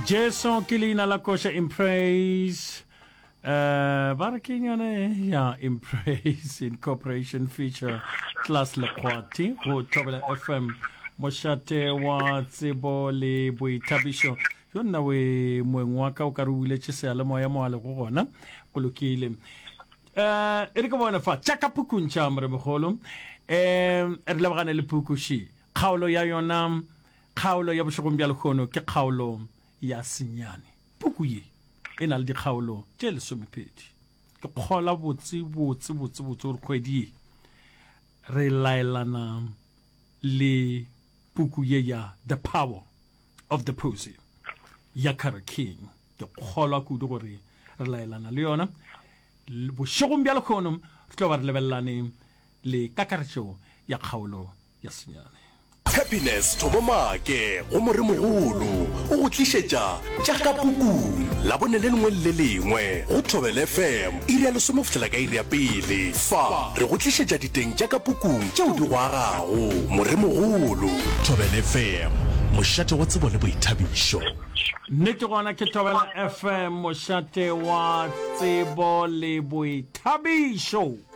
Jesu ke leina la koša in praise. Uh, ba re ke yone ya in praise incorporation feature class lekgwati go Thobela FM mošate wa tsebo le boithabišo yo nna we moeng wa ka o ka re o buletše seyalemoya mo a lego gona go lokile um e re ke bone fa tša ka pukung tša moremogolo um re lebagane le puku še kgaolo ya yona kgaolo ya bošegong bja lehono ke kgaolo ya senyane puku ye e na le dikgaolo tše lesomepedi ke kgola botse botse botse botse gore kgwedi ye re laelana le puku ye ya the power of the posy ya Carole King. Ke kgolwa kudu gore re laelana le yona. Bošegong bja lekgono re tlo ba re lebelelane le kakaretšo ya kgaolo ya senyane. Happiness Thobo Maake go Moremogolo o go tlišetša tša ka pukung Labone le lengwe le le lengwe go Thobela FM iri ya lesome go fihlela ka iri ya pele. Fa re go tlišetša diteng tša ka pukung tšeo di go agago. Moremogolo. Thobela FM, mošate wa tsebo le boithabišo. Nnete gona ke Thobela FM, mošate wa tsebo le boithabišo.